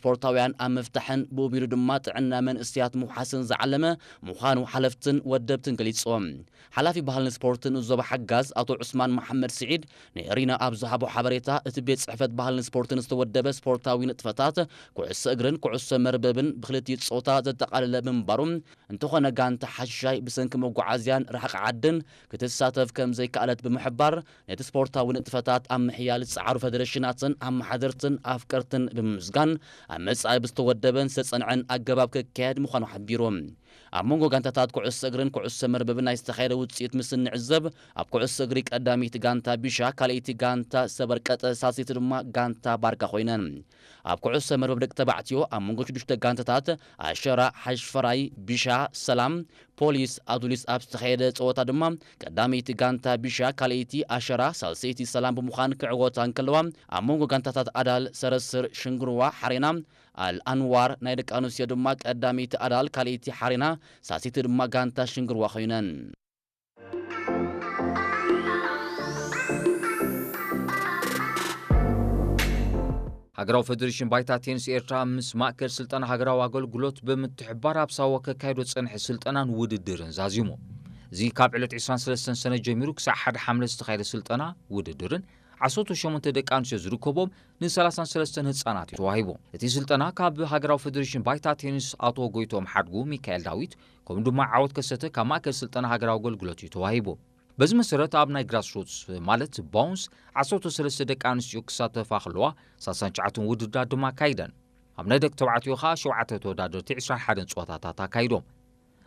ስፖርታውያን ኣብ ምፍታሕን ብኡ ቢሉ ድማ ጥዕና መንእሰያት ምውሓስን ዝዓለመ ምዃኑ ሓለፍትን ወደብትን ገሊጾም። ሓላፊ ባህልን ስፖርትን ዞባ ሓጋዝ ኣቶ ዑስማን መሓመድ ስዒድ ንኤሪና ኣብ ዝሃቦ ሓበሬታ፣ እቲ ቤት ጽሕፈት ባህልን ስፖርትን ዝተወደበ ስፖርታዊ ንጥፈታት ኩዕሶ እግርን ኩዕሶ መርበብን ብክልቲኡ ጾታ ዘጠቓለለ ብምንባሩ፣ እንተኾነ ጋንታ ሓሻይ ብሰንኪ መጓዓዝያን ርሕቂ ዓድን ክትሳተፍ ከም ዘይከኣለት ብምሕባር፣ ነቲ ስፖርታዊ ንጥፈታት ኣብ ምሕያል ዝጸዓሩ ፈደረሽናትን ኣመሓደርትን ኣፍቀርትን ብምምስጋን፣ ኣብ መጻኢ ብዝተወደበን ዝተጸንዐን ኣገባብ ክካየድ ምዃኑ ሓቢሩ። ኣብ መንጎ ጋንታታት ኩዕሶ እግርን ኩዕሶ መርበብን ናይ ዝተኻየደ ውጽኢት ምስ እንዕዘብ፣ ኣብ ኩዕሶ እግሪ ቀዳመይቲ ጋንታ ቢሻ፣ ካልኣይቲ ጋንታ ሰበርቀጠ፣ ሳልሰይቲ ድማ ጋንታ ባርካ ኮይነን። ኣብ ኩዕሶ መርበብ ደቂ ተባዕትዮ ኣብ መንጎ ሽዱሽተ ጋንታታት ኣሸራ፣ ሓሽፈራይ፣ ቢሻ፣ ሰላም፣ ፖሊስ ኣዱሊስ ኣብ ዝተኻየደ ጸወታ ድማ ቀዳመይቲ ጋንታ ቢሻ፣ ካልኣይቲ ኣሸራ፣ ሳልሰይቲ ሰላም ብምዃን ክዕወታ እንከለዋ፣ ኣብ መንጎ ጋንታታት ኣዳል፣ ሰረስር፣ ሽንግርዋ፣ ሓሬና፣ ኣል ኣንዋር ናይ ደቂ ኣንስትዮ ድማ ቀዳመይቲ ኣዳል፣ ካልኣይቲ ሓሬና፣ ሳልሰይቲ ድማ ጋንታ ሽንግርዋ ኮይነን። ሃገራዊ ፈደሬሽን ባይታ ቴኒስ ኤርትራ ምስ ማእከል ስልጠና ሃገራዊ ኣገልግሎት ብምትሕባር ኣብ ሳዋ ከካይዶ ዝጸንሐ ስልጠናን ውድድርን ዛዚሙ። እዚ ካብ ዕለት ዕስራን ሰለስተን ሰነ ጀሚሩ ክሳዕ ሓደ ሓምለ ዝተኻየደ ስልጠና ውድድርን ዓሰርተ ሸሞንተ ደቂ ኣንስትዮ ዝርከቦም ን ሰላሳን ሰለስተን ህጻናት እዩ ተዋሂቡ። እቲ ስልጠና ካብ ሃገራዊ ፈደሬሽን ባይታ ቴኒስ ኣቶ ጎይቶም ሓድጉ፣ ሚካኤል ዳዊት፣ ከምኡ ድማ ዓወት ከሰተ ካብ ማእከል ስልጠና ሃገራዊ ኣገልግሎት እዩ ተዋሂቡ። በዚ መሰረት ኣብ ናይ ግራስሩትስ ማለት ባውንስ ዓሰርተ ሰለስተ ደቂ ኣንስትዮ ክሳተፋ ከለዋ፣ ሳልሳን ትሽዓተን ውድድራት ድማ ኣካይደን። ኣብ ናይ ደቂ ተባዕትዮ ከኣ ሸውዓተ ተወዳደርቲ ዕስራን ሓደን ጸወታታት ኣካይዶም።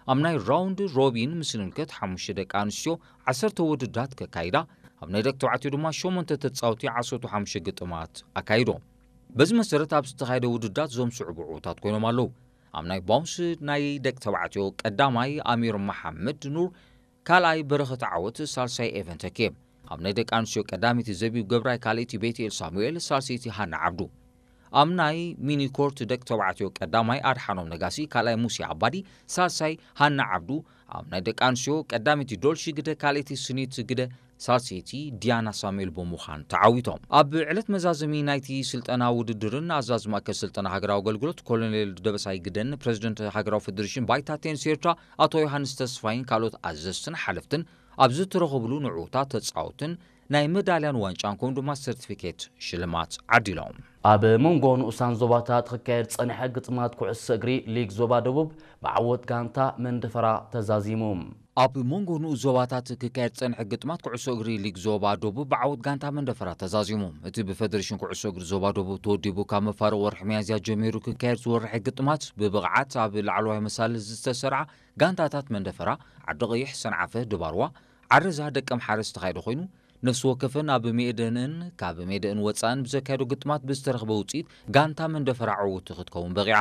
ኣብ ናይ ራውንድ ሮቢን ምስ ንምልከት ሓሙሽተ ደቂ ኣንስትዮ ዓሰርተ ውድድራት ከካይዳ፣ ኣብ ናይ ደቂ ተባዕትዮ ድማ ሸሞንተ ተጻወቲ ዓሰርተ ሓሙሽተ ግጥማት ኣካይዶም። በዚ መሰረት ኣብ ዝተኻየደ ውድድራት እዞም ዝስዕቡ ዕዉታት ኮይኖም ኣለዉ። ኣብ ናይ ባውንስ ናይ ደቂ ተባዕትዮ ቀዳማይ ኣሚር መሓመድ ኑር፣ ካልኣይ በረኸት ዓወት፣ ሳልሳይ ኤቨን ተኬ። ኣብ ናይ ደቂ ኣንስትዮ ቀዳመይቲ ዘቢብ ገብራይ፣ ካልኣይቲ ቤትኤል ሳሙኤል፣ ሳልሰይቲ ሃና ዓብዱ። ኣብ ናይ ሚኒ ኮርት ደቂ ተባዕትዮ ቀዳማይ ኣድሓኖም ነጋሲ፣ ካልኣይ ሙሴ ኣባዲ፣ ሳልሳይ ሃና ዓብዱ። ኣብ ናይ ደቂ ኣንስትዮ ቀዳመይቲ ዶልሺ ግደ፣ ካልኣይቲ ስኒት ግደ፣ ሳልሰይቲ ዲያና ሳሙኤል ብምዃን ተዓዊቶም። ኣብ ዕለት መዛዘሚ ናይቲ ስልጠና ውድድርን ኣዛዚ ማእከል ስልጠና ሃገራዊ ኣገልግሎት ኮሎኔል ደበሳይ ግደን ፕሬዚደንት ሃገራዊ ፈደሬሽን ባይታ ቴኒስ ኤርትራ ኣቶ ዮሃንስ ተስፋይን ካልኦት ኣዘዝትን ሓለፍትን ኣብ ዝተረኸብሉ ንዕዉታት ተጻወትን ናይ መዳልያን ዋንጫን ከምኡ ድማ ሰርቲፊኬት ሽልማት ዓዲሎም። ኣብ መንጎ ንኡሳን ዞባታት ክካየድ ጸኒሐ ግጥማት ኩዕሶ እግሪ ሊግ ዞባ ደቡብ ብዓወት ጋንታ መንደፈራ ተዛዚሙ። ኣብ መንጎ ንኡስ ዞባታት ክካየድ ጸኒሐ ግጥማት ኩዕሶ እግሪ ሊግ ዞባ ደቡብ ብዓወት ጋንታ መንደፈራ ተዛዚሙ። እቲ ብፈደሬሽን ኩዕሶ እግሪ ዞባ ደቡብ ተወዲቡ ካብ መፋርቕ ወርሒ ሚያዝያ ጀሚሩ ክካየድ ዝወርሐ ግጥማት ብብቕዓት ኣብ ላዕለዋይ መሳልል ዝተሰርዓ ጋንታታት መንደፈራ፣ ዓዲ ቀይሕ፣ ሰንዓፈ፣ ድባርዋ፣ ዓረዛ፣ ደቀምሓረ ዝተኻየደ ኮይኑ፣ ነፍሲ ወከፈን ኣብ ሜደንን ካብ ሜደእን ወጻእን ብዘካየዶ ግጥማት ብዝተረኽበ ውጽኢት ጋንታ መንደፈራ ዕውቲ ክትከውን በቒዓ።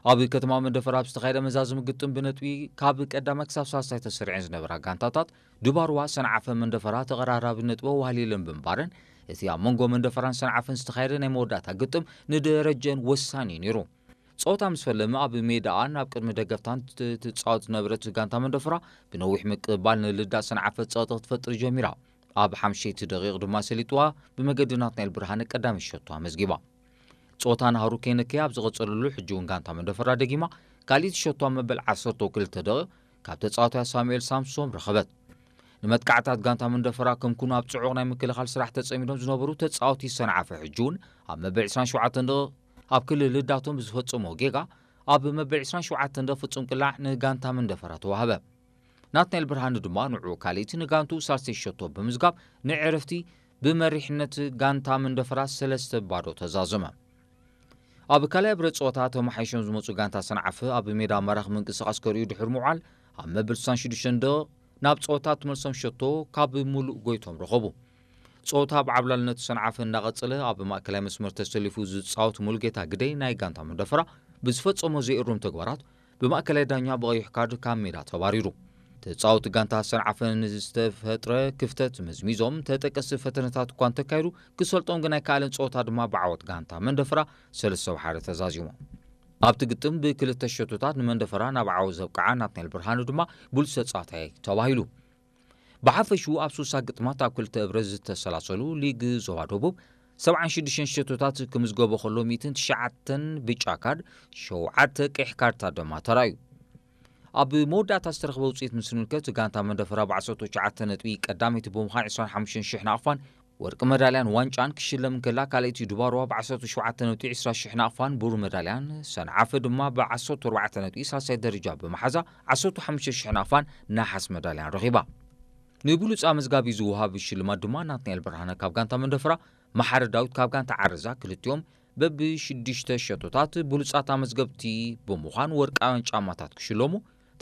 ኣብ ከተማ መንደፈራ ኣብ ዝተኻየደ መዛዘሚ ግጥም ብነጥቢ ካብ ቀዳማይ ክሳብ ሳልሳይ ተሰሪዐን ዝነበራ ጋንታታት ድባርዋ፣ ሰንዓፈ፣ መንደፈራ ተቐራራቢ ነጥቢ ኣዋህሊለን ብምንባረን፣ እቲ ኣብ መንጎ መንደፈራን ሰንዓፈን ዝተኻየደ ናይ መወዳእታ ግጥም ንደረጀን ወሳኒ እዩ ነይሩ። ጸወታ ምስ ፈለመ ኣብ ሜዳኣ ናብ ቅድሚ ደገፍታን ት-፣ ትጻወት ዝነበረት ጋንታ መንደፈራ ብነዊሕ ምቅብባል ንልዳት ሰንዓፈ ጸቕጢ ክትፈጥር ጀሚራ። ኣብ ሓምሸይቲ ደቂቕ ድማ ሰሊጥዋ ብመገዲ ናትናኤል ብርሃነ ቀዳመይቲ ሸቶ ኣመዝጊባ። ጸወታ ናህሩ ከይነከየ ኣብ ዝቐጸለሉ ሕጂ እውን ጋንታ መንደፈራ ደጊማ ካልኣይቲ ሸቶ ኣብ መበል ዓሰርተ ክልተ ደቂቕ ካብ ተጻዋታይ ሳሙኤል ሳምሶም ረኸበት። ንመጥቃዕታት ጋንታ መንደፈራ ከም ኩኑ ኣብ ጽዑቕ ናይ ምክልኻል ስራሕ ተጸሚዶም ዝነበሩ ተጻወቲ ሰንዓፈ ሕጂ እውን ኣብ መበል ዕስራን ሸውዓተን ደቂቕ ኣብ ክልል ልዳቶም ብዝፈጸሞ ጌጋ ኣብ መበል ዕስራን ሸውዓተን ደቂቕ ፍጹም ቅላዕ ንጋንታ መንደፈራ ተዋህበ። ናትናኤል ብርሃነ ድማ ንዕኡ ካልኣይቲ ንጋንቱ ሳልሰይቲ ሸቶ ብምዝጋብ ንዕረፍቲ ብመሪሕነት ጋንታ መንደፈራ ሰለስተ ባዶ ተዛዘመ። ኣብ ካልኣይ ብረት ጸወታ ተመሓይሾም ዝመጹ ጋንታ ሰንዓፈ ኣብ ሜዳ ማራኺ ምንቅስቓስ ከርእዩ ድሕሪ ምውዓል ኣብ መበል ስሳን ሽዱሽተን ደቂቕ ናብ ጸወታ ትመልሶም ሸቶ ካብ ሙሉእ ጎይቶም ረኸቡ። ጸወታ ብዓብላልነት ሰንዓፈ እናቐጸለ ኣብ ማእከላይ መስመር ተሰሊፉ ዝጻወት ሙሉጌታ ግደይ ናይ ጋንታ መንደፈራ ብዝፈጸሞ ዘይእሩም ተግባራት ብማእከላይ ዳኛ ብቐይሕ ካርድ ካብ ሜዳ ተባሪሩ። ተጻወቲ ጋንታ ሰንዓፈ ንዝተፈጥረ ክፍተት መዝሚዞም ተጠቀስቲ ፈተነታት እኳ እንተካየዱ ክሰልጦም ግን ኣይከኣለን። ጸወታ ድማ ብዓወት ጋንታ መንደፈራ ሰለስተ ብሓደ ተዛዚሙ። ኣብቲ ግጥም ብክልተ ሸቶታት ንመንደፈራ ናብ ዓወት ዘብቅዓ ናትናኤል ብርሃኑ ድማ ብሉጽ ተጻዋታይ ተባሂሉ። ብሓፈሽኡ ኣብ ሱሳ ግጥማት ኣብ ክልተ እብረ ዝተሰላሰሉ ሊግ ዞባ ደቡብ ሰብዓን ሽዱሽተን ሸቶታት ክምዝገቦ ከሎ፣ ሚእትን ትሽዓተን ብጫ ካርድ፣ ሸውዓተ ቀይሕ ካርድታት ድማ ተራእዩ። ኣብ መወዳእታ ዝተረኽበ ውፅኢት ምስ ንምልከት፣ ጋንታ መንደፈራ ብዓሰርተ ትሽዓተ ነጥቢ ቀዳመይቲ ብምዃን ዕስራን ሓሙሽተን ሽሕ ናቕፋን ወርቂ መዳልያን ዋንጫን ክሽለም እንከላ፣ ካልኣይቲ ድባርዋ ብዓሰርተ ሸውዓተ ነጥቢ ዕስራ ሽሕ ናቕፋን ብሩር መዳልያን፣ ሰንዓፈ ድማ ብዓሰርተ ኣርባዕተ ነጥቢ ሳልሳይ ደረጃ ብምሓዛ፣ ዓሰርተ ሓሙሽተ ሽሕ ናቕፋን ነሓስ መዳልያን ረኺባ። ንብሉፅ ኣመዝጋቢ ዝወሃብ ሽልማት ድማ ናትናኤል ብርሃነ ካብ ጋንታ መንደፈራ፣ መሓሪ ዳዊት ካብ ጋንታ ዓረዛ፣ ክልቲኦም በብሽዱሽተ ሸቶታት ብሉጻት ኣመዝገብቲ ብምዃን ወርቃውያን ጫማታት ክሽለሙ፣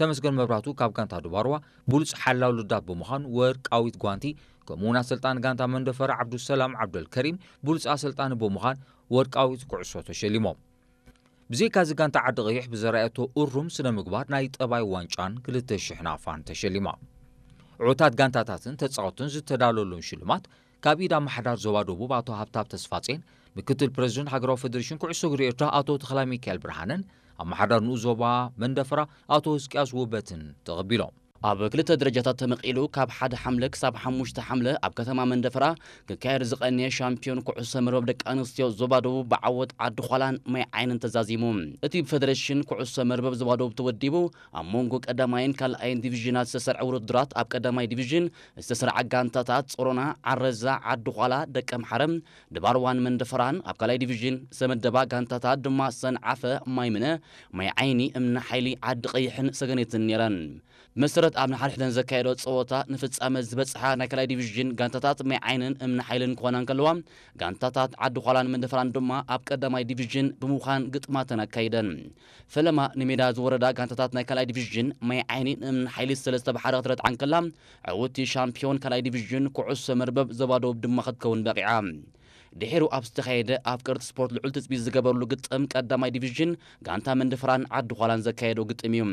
ተመስገን መብራቱ ካብ ጋንታ ድባርዋ ብሉጽ ሓላው ልዳት ብምዃን ወርቃዊት ጓንቲ፣ ከምኡውን ኣሰልጣኒ ጋንታ መንደፈራ ዓብዱሰላም ዓብደልከሪም ብሉጽ ኣሰልጣኒ ብምዃን ወርቃዊት ኩዕሶ ተሸሊሞም። ብዘይካዚ ጋንታ ዓዲ ቀይሕ ብዘርኣየቶ እሩም ስነ ምግባር ናይ ጠባይ ዋንጫን ክልተ ሽሕ ናቕፋን ተሸሊማ። ዕዉታት ጋንታታትን ተጻወትን ዝተዳለወሎም ሽልማት ካብ ኢድ ኣመሓዳር ዞባ ደቡብ ኣቶ ሃብታብ ተስፋጼን ምክትል ፕረዚደንት ሃገራዊ ፌደሬሽን ኩዕሶ እግሪ ኤርትራ ኣቶ ተኽላይ ሚካኤል ብርሃነን ኣመሓዳር ንኡስ ዞባ መንደፈራ ኣቶ ህዝቅያስ ውበትን ተቐቢሎም። ኣብ ክልተ ደረጃታት ተመቒሉ ካብ ሓደ ሓምለ ክሳብ ሓሙሽተ ሓምለ ኣብ ከተማ መንደፈራ ክካየድ ዝቐነየ ሻምፒዮን ኩዕሶ መርበብ ደቂ ኣንስትዮ ዞባ ደቡብ ብዓወት ዓዲ ዃላን ማይ ዓይንን ተዛዚሙ። እቲ ብፌደሬሽን ኩዕሶ መርበብ ዞባ ደቡብ ተወዲቡ ኣብ መንጎ ቀዳማይን ካልኣይን ዲቪዥናት ዝተሰርዐ ውድድራት ኣብ ቀዳማይ ዲቪዥን ዝተሰርዓ ጋንታታት ጾሮና፣ ዓረዛ፣ ዓዲ ዃላ፣ ደቀምሓረ፣ ድባርዋን መንደፈራን፣ ኣብ ካልኣይ ዲቪዥን ዝተመደባ ጋንታታት ድማ ሰንዓፈ፣ ማይምነ፣ ማይ ዓይኒ፣ እምኒ ሓይሊ፣ ዓዲ ቀይሕን ሰገነትን ነይረን። ብመሰረት ኣብ ንሓድሕደን ዘካየዶ ጸወታ ንፍጻመ ዝበጽሓ ናይ ካልኣይ ዲቪዥን ጋንታታት ማይ ዓይንን እምኒ ሓይልን ክኾና እንከለዋ፣ ጋንታታት ዓዲ ዃላን መንደፈራን ድማ ኣብ ቀዳማይ ዲቪዥን ብምዃን ግጥማተን ኣካይደን። ፈለማ ንሜዳ ዝወረዳ ጋንታታት ናይ ካልኣይ ዲቪዥን ማይ ዓይኒ ንእምኒ ሓይሊ ሰለስተ ብሓደ ክትረትዓ እንከላ፣ ዕውቲ ሻምፒዮን ካልኣይ ዲቪዥን ኩዕሶ መርበብ ዞባ ደቡብ ድማ ክትከውን በቒዓ። ድሒሩ ኣብ ዝተኻየደ ኣፍቀርቲ ስፖርት ልዑል ትጽቢት ዝገበርሉ ግጥም ቀዳማይ ዲቪዥን ጋንታ መንደፈራን ዓዲ ዃላን ዘካየዶ ግጥም እዩ።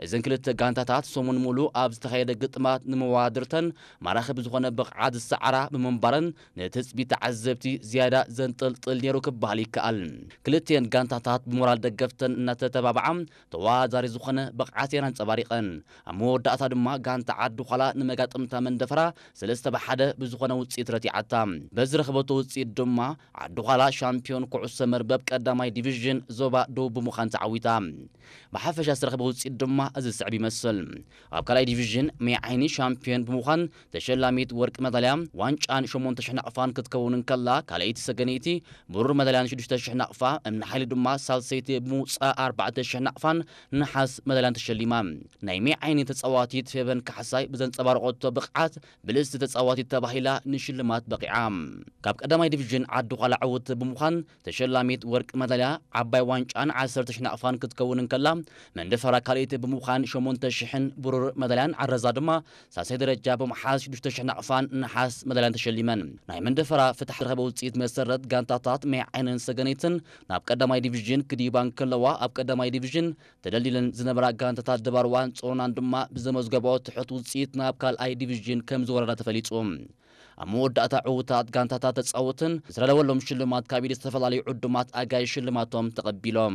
እዘን ክልተ ጋንታታት ሰሙን ሙሉ ኣብ ዝተኻየደ ግጥማት ንመዋድርተን ማራኺ ብዝኾነ ብቕዓት ዝሰዓራ ብምንባረን ንትጽቢት ተዓዘብቲ ዝያዳ ዘንጠልጥል ነይሩ ክበሃል ይከኣል። ክልቲኤን ጋንታታት ብሞራል ደገፍተን እናተተባብዓ ተወዳዳሪ ዝኾነ ብቕዓት እየን ኣንጸባሪቐን። ኣብ መወዳእታ ድማ ጋንታ ዓዲ ዃላ ንመጋጥምታ መንደፈራ ሰለስተ ብሓደ ብዝኾነ ውጽኢት ረቲዓታ። በዚ ረኸበቶ ውጽኢት ድማ ዓዲ ዃላ ሻምፒዮን ኩዕሶ መርበብ ቀዳማይ ዲቪዥን ዞባ ደቡብ ብምዃን ተዓዊታ። ብሓፈሻ ዝተረኽበ ውጽኢት ድማ እዚ ዝስዕብ ይመስል። ኣብ ካልኣይ ዲቪዥን ማይ ዓይኒ ሻምፒዮን ብምዃን ተሸላሚት ወርቂ መዳልያ ዋንጫን ሸሞንተ ሽሕ ናቕፋን ክትከውን እንከላ፣ ካልኣይቲ ሰገነይቲ ብሩር መዳልያን ሽዱሽተ ሽሕ ናቕፋ፣ እምኒ ሓይሊ ድማ ሳልሰይቲ ብምውጻእ ኣርባዕተ ሽሕ ናቕፋን ነሓስ መዳልያን ተሸሊማ። ናይ ማይ ዓይኒ ተጻዋቲት ፌቨን ካሕሳይ ብዘንጸባረቐቶ ብቕዓት ብልጽቲ ተጻዋቲት ተባሂላ ንሽልማት በቒዓ። ካብ ቀዳማይ ዲቪዥን ዓዲ ዃላ ዕውት ብምዃን ተሸላሚት ወርቂ መዳልያ ዓባይ ዋንጫን ዓሰርተ ሽሕ ናቕፋን ክትከውን እንከላ፣ መንደፈራ ካልኣይቲ ብምዃን ሸሞንተ ሽሕን ብሩር መዳልያን ዓረዛ ድማ ሳልሳይ ደረጃ ብምሓዝ ሽዱሽተ ሽሕ ናቕፋን ነሓስ መዳልያን ተሸሊመን። ናይ መንደፈራ ፍታሕ ዝረኸበ ውጽኢት መሰረት ጋንታታት ማይ ዓይንን ሰገነይትን ናብ ቀዳማይ ዲቪዥን ክድይባ እንከለዋ፣ ኣብ ቀዳማይ ዲቪዥን ተደልዲለን ዝነበራ ጋንታታት ድባርዋን ጾሮናን ድማ ብዘመዝገበኦ ትሑት ውጽኢት ናብ ካልኣይ ዲቪዥን ከም ዝወረዳ ተፈሊጹ። ኣብ መወዳእታ ዕዉታት ጋንታታት ተጻወትን ዝተዳለወሎም ሽልማት ካብ ኢድ ዝተፈላለዩ ዕዱማት ኣጋይሽ ሽልማቶም ተቐቢሎም።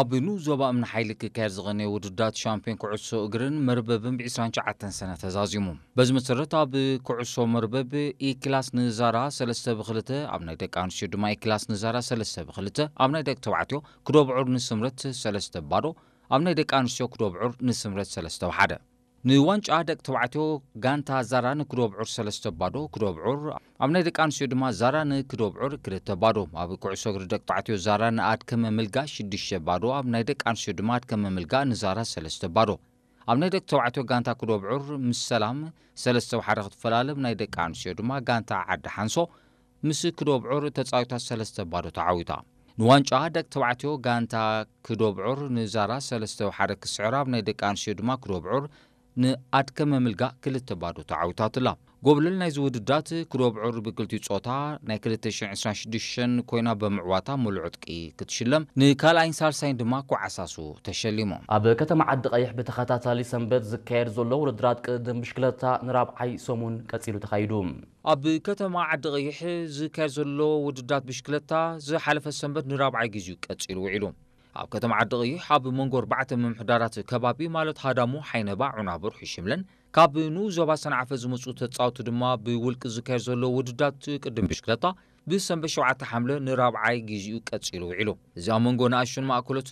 ኣብ ንኡስ ዞባ እምኒ ሓይሊ ክካየድ ዝቐነየ ውድድራት ሻምፒዮን ኩዕሶ እግርን መርበብን ብ ዕስራን ትሽዓተን ሰነ ተዛዚሙ። በዚ መሰረት ኣብ ኩዕሶ መርበብ ኢ ክላስ ንዛራ ሰለስተ ብክልተ፣ ኣብ ናይ ደቂ ኣንስትዮ ድማ ኢ ክላስ ንዛራ ሰለስተ ብክልተ፣ ኣብ ናይ ደቂ ተባዕትዮ ክዶ ብዑር ንስምረት ሰለስተ ባዶ፣ ኣብ ናይ ደቂ ኣንስትዮ ክዶ ብዑር ንስምረት ሰለስተ ብሓደ። ንዋንጫ ደቂ ተባዕትዮ ጋንታ ዛራ ንክዶ ብዑር ሰለስተ ባዶ ክዶ ብዑር፣ ኣብ ናይ ደቂ ኣንስትዮ ድማ ዛራ ንክዶ ብዑር ክልተ ባዶ። ኣብ ኩዕሶ እግሪ ደቂ ተባዕትዮ ዛራ ንኣድከመ ምልጋ ሽዱሽተ ባዶ፣ ኣብ ናይ ደቂ ኣንስትዮ ድማ ኣድከመ ምልጋ ንዛራ ሰለስተ ባዶ። ኣብ ናይ ደቂ ተባዕትዮ ጋንታ ክዶ ብዑር ምስ ሰላም ሰለስተ ብሓደ ክትፈላለ፣ ናይ ደቂ ኣንስትዮ ድማ ጋንታ ዓዲ ሓንሶ ምስ ክዶ ብዑር ተጻዊታ ሰለስተ ባዶ ተዓዊታ። ንዋንጫ ደቂ ተባዕትዮ ጋንታ ክዶ ብዑር ንዛራ ሰለስተ ብሓደ ክስዕራ፣ ኣብ ናይ ደቂ ኣንስትዮ ድማ ክዶ ብዑር ንኣድከመ ምልጋ ክልተ ባዶ ተዓዊታትላ። ጎብለል ናይዚ ውድዳት ክዶ ብዑር ብክልቲኡ ጾታ ናይ ክልተ ሽሕን ዕስራን ሽዱሽተን ኮይና ብምዕዋታ ምሉእ ዕጥቂ ክትሽለም፣ ንካልኣይን ሳልሳይን ድማ ኮዓሳሱ ተሸሊሞም። ኣብ ከተማ ዓዲ ቀይሕ ብተኸታታሊ ሰንበት ዝካየድ ዘሎ ውድድራት ቅድድም ብሽክለታ ንራብዓይ ሰሙን ቀጺሉ ተኻይዱ። ኣብ ከተማ ዓዲ ቀይሕ ዝካየድ ዘሎ ውድድራት ብሽክለታ ዝሓለፈ ሰንበት ንራብዓይ ግዜኡ ቀጺሉ ውዒሉ። ኣብ ከተማ ዓዲ ቀይሕ ኣብ መንጎ ኣርባዕተ ምምሕዳራት ከባቢ ማለት ሃዳሙ፣ ሓይነባ፣ ዑናቡር፣ ሕሽምለን ካብ ንኡስ ዞባ ሰንዓፈ ዝመጹ ተጻወቱ ድማ ብውልቂ ዝካየድ ዘሎ ውድድራት ቅድድም ብሽክለታ ብሰንበት ሸውዓተ ሓምለ ንራብዓይ ግዜኡ ቀጺሉ ውዒሉ። እዚ ኣብ መንጎ ንኣሽቱን ማእከሎት